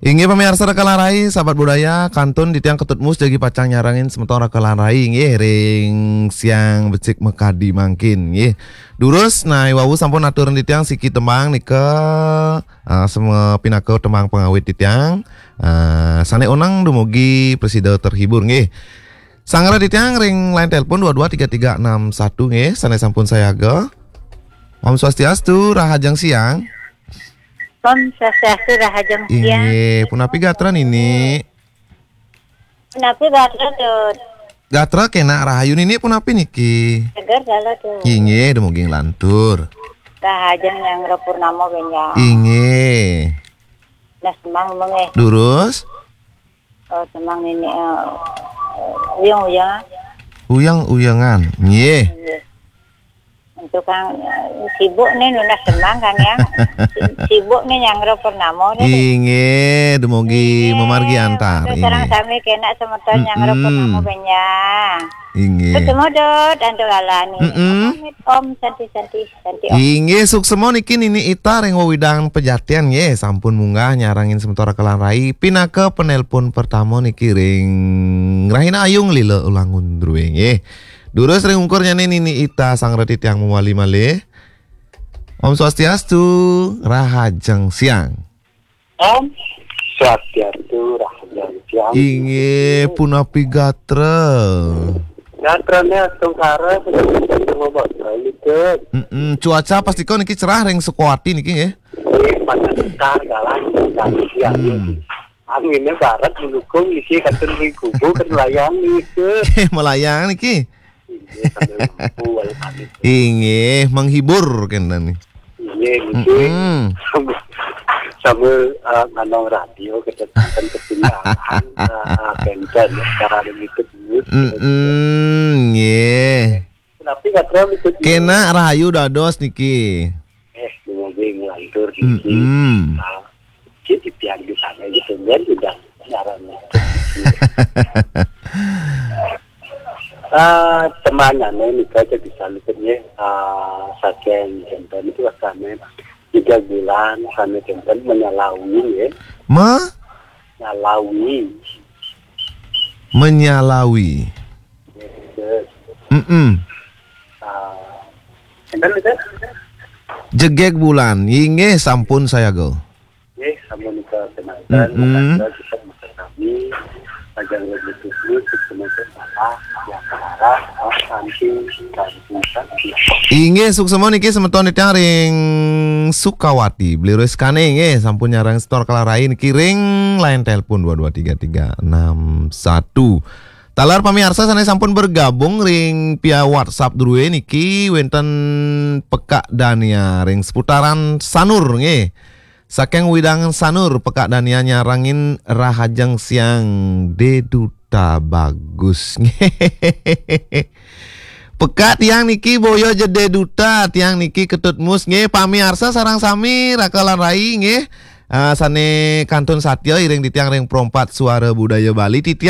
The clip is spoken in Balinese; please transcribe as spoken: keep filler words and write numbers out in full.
Inggih pamiarsa Raka lan Rai, sahabat budaya, kantun titiang Ketut Mus jagi pacang nyarengin semeton Raka lan Rai, inggih, ring siang becik makadi mangkin, inggih. Durus, nah, i wau sampun aturin titiang siki tembang nika, ah, seme-, pinaka tembang pangawit titiang, ah, sane oneng dumugi prasida terhibur, inggih. Sanggra titiang ring line telepon dua dua tiga tiga enam satu, inggih, sane sampun sayaga. Om Swastiastu, rahajeng siang. Om Swastiastu, rahajeng siang. Inggih, punapi gatra Nini? Punapi gatra, Tut? Gatra kenak rahayu Nini, punapi niki? Seger gatra, Tut. Inggih, dumugi nglantur. Rahajeng nyanggra purnama benjang. Inggih. Nah, semeng mengeh. Durus? Oh, semeng Nini, eh, uyang-uyangan. Uyang-uyangan. Nggih. Nggih. Untuk kang, eh, sibuk nih nunas semeng kan yang. Si-, sibuk nih nyanggra purnama nih. Inggih, dumugi mamargi antar. Sareng sami kenak semeton nyanggra purnama benjang. Inggih. Ketemu Dot, antuk alani. Mm-mm. Pamit, Om, santi, santi, santi, Om. Inggih, suksema niki Nini Ita ring wewidangan Pejatian, nggih, sampun munggah nyarengin semeton Raka lan Rai pinaka penelpon pertama niki ring Rahina Ayu Lila Ulangun Drue, nggih. Durus ring ungkurnyane Nini Ita, sanggra titiang mawali malih. Om Swastiastu, rahajeng siang. Om Swastiastu, rahajeng siang. Inggih, punapi gatra? Gatrane astungkara, punapi gatra, Bapak? Baik, Dut. Mm-mm, cuaca pastika niki cerah ring Sukawati niki, nggih. Nggih, panas sekar, galang, sekar, siang, nggih. Angine barat mendukung niki, kantun ring kubu, kan melayang niki. Melayang niki. Inggih, sambil mampu, walau kami. Inggih, menghibur kenten nih. Inggih, niki. Mm-mm. Sambil, sambil, eh, nganong radio, kedatangan ketinggalan, eh, kenten, cara ada ngikut dulu. Mm-mm, nggih. Tapi nggak terlalu ikut dulu. Kenak rahayu dados niki. Eh, dumugi nglantur niki. Mm-mm. Ah, cik titiang di sana gitu, kan udah nyaran. Ah, temangane nika aja bisa luput nggih. Ah, saking kenten itu rasane tiga bulan sane kenten menyalawi nggih. Ma? Nyalawi. Menyalawi. Nggih. Mm-mm. Ah, kenten itu? Jegeg bulan. Inggih, sampun sayaga. Nggih, sampun nika kenalan, mm-mm, kita bisa kami, ajang lebih khusus, semeton salah, yang salah, oh, santi, santi, santi. Inggih, suksema niki semeton titiang ring Sukawati, Beli Rizkane, nggih, sampun nyarengin semeton Raka lan Rai niki ring line telepon dua dua tiga tiga enam satu. Taler pamiarsa sane sampun bergabung ring via WhatsApp drue niki wenten Pekak Dania ring seputaran Sanur, nggih. Saking wewidangan Sanur, Pekak Dania nyarengin rahajeng siang De Duta Bagus. Pekak tiang niki boya ja De Duta, tiang niki Ketut Mus nggih, pamiarsa sareng sami Raka lan Rai nggih. Ah, sane kantun satia iring titiang ring Pro empat Suara Budaya Bali, titiang